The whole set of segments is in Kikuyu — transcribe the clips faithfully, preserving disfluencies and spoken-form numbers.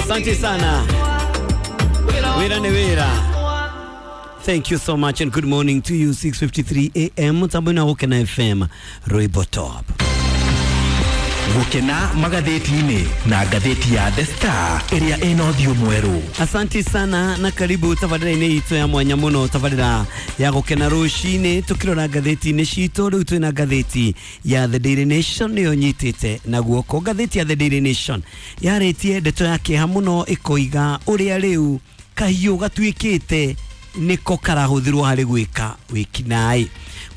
Asante sana. Wira ni wira. Thank you so much and good morning to you. six fifty-three a m Tambuna Gukena F M, Roybo Top. Gukena magathĩti-inĩ na ngathĩti ya The Star ĩrĩa ĩna ũthiũ mwerũ. Asante sana na karibu tabarĩra-inĩ itũ ya mwanya mũno, tabarĩra ya gũkena rũcinĩ, tũkĩrora ngathĩti-inĩ citũ. Rĩu twĩna ngathĩti ya The Daily Nation, nĩyo nyitĩte na guoko. Ngathĩti ya The Daily Nation yarĩtie ndeto ya kĩeha mũno, ĩkoiga ũrĩa rĩu kahiũ gatuĩkĩte nĩko karahũthĩrwo harĩ gwĩka wĩkinaĩ.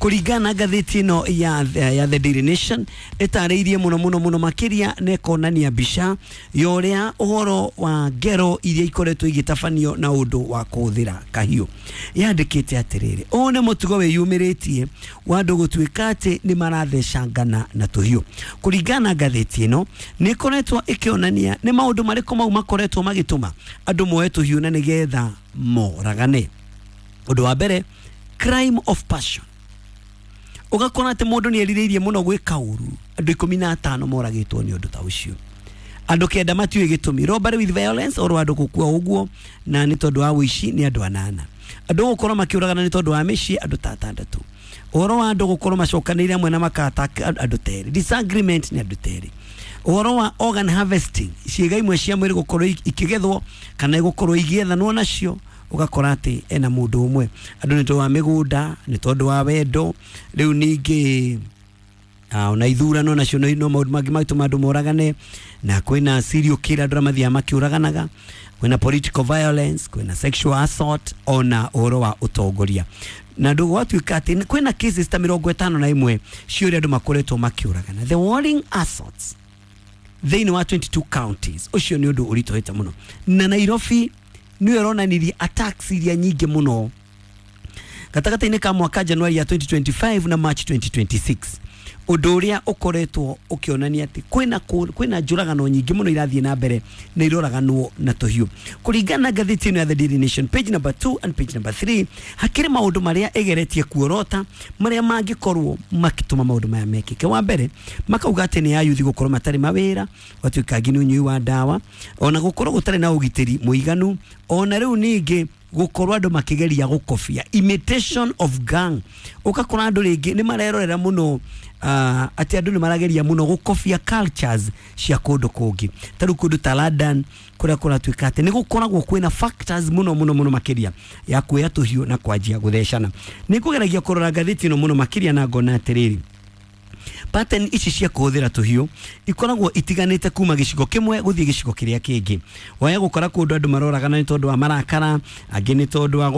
Kũringana na ngathĩti ĩno ya, ya The Daily Nation, ĩtarĩirie mũno mũno mũno makĩria na ĩkonania mbica ya ũrĩa ũhoro wa ngero iria ikoretwo igĩtabanio na ũndũ wa kũhũthĩra kahiũ. Yandĩkĩte atĩrĩrĩ, ũũ nĩ mũtugo wĩyumĩrĩtie wa andũ gũtuĩka atĩ nĩ marathecangana na tũhiũ. Kũringana na ngathĩti ĩno, nĩ ĩkoretwo ĩkĩonania nĩ maũndũ marĩkũ mau makoretwo magĩtũma andũ moe tũhiũ na nĩgetha moragane. Ũndũ wa mbere, crime of passion, ũgakora atĩ mũndũ nĩ erirĩirie mũno gwĩka ũru. Andũ ikũmi na atano moragĩtwo nĩ ũndũ ta ũcio, andũ kenda matiũĩ gĩtũmi. Robbery with violence, oro andũ gũkua ũguo na nĩ tondũ wa ũici, nĩ andũ anana. Andũ gũkorwo makĩũragana nĩ tondũ wa mĩciĩ, andũ ta atandatũ. Ũhoro wa andũ gũkorwo macokanĩire hamwe na makata, andũ terĩ. Disagreement nĩ andũ terĩ. Ũhoro wa organ harvesting, ciĩga imwe cia mwĩrĩ gũkorwo ikĩgethwo kana gũkorwo igĩethanwo nacio, ũgakora atĩ ena mũndũ ũmwe. Andũ nĩ tondũ wa mĩgũnda, nĩ tondũ wa wendo, rĩu ningĩ uh, ona ithurano nacio no no maũndũ mangĩ magĩtũma andũ moragane, na kwĩna serial killer, andũ arĩa mathiaga makĩũraganaga, kwĩna political violence, kwĩna sexual assault, ona ũhoro wa ũtongoria. Na ndũ gwatuĩka atĩ kwĩna cases ta mĩrongo ĩtano na ĩmwe cia ũrĩa andũ makoretwo makĩũragana, the warring assaults thĩinĩ wa twenty-two counties. Ũcio nĩ ũndũ ũritũhĩte mũno, na Nairobi nĩyo ĩronanirie attacks iria nyingĩ mũno gatagatĩ-inĩ ka mwaka January ya twenty twenty-five na March twenty twenty-six, ũndũ ũrĩa ũkoretwo ũkĩonania atĩ kwĩna kũ- kwĩna njũragano nyingĩ mũno irathiĩ na mbere na iroraganwo na tũhiũ. Kũringana na ngathĩti ĩno ya The Daily Nation, page number two and page number three, hakĩrĩ maũndũ marĩa ĩgeretie kuorota marĩa mangĩkorwo makĩtũma maũndũ maya mekĩke. Wa mbere, makauga atĩ nĩ ayuthi gũkorwo matarĩ mawĩra, gwatuĩka angĩ nĩ ũnyui wa ndawa, ona gũkorwo gũtarĩ na ũgitĩri mũiganu, ona rĩu ningĩ gũkorwo andũ makĩgeria gũkobia, imitation of gang. Ũgakora andũ rĩngĩ nĩ marerorera mũno, uh, atĩ andũ nĩ marageria mũno gũkobia cultures cia kũndũ kũngĩ, ta rĩu kũndũ ta London, kũrĩa kũratuĩka atĩ nĩ gũkoragwo kwĩna factors mũno mũno mũno makĩria ya kuoya tũhiũ na kwanjia gũthecana. Nĩ kũgeragia kũrora ngathĩti ĩno mũno makĩria na ngona atĩrĩrĩ, pattern ici cia kũhũthĩra tũhiũ ikoragwo itiganĩte kuma gĩcigo kĩmwe gũthiĩ gĩcigo kĩrĩa kĩngĩ. Waya gũkora kũndũ andũ maroragana nĩ tondũ wa marakara, angĩ nĩ tondũ wa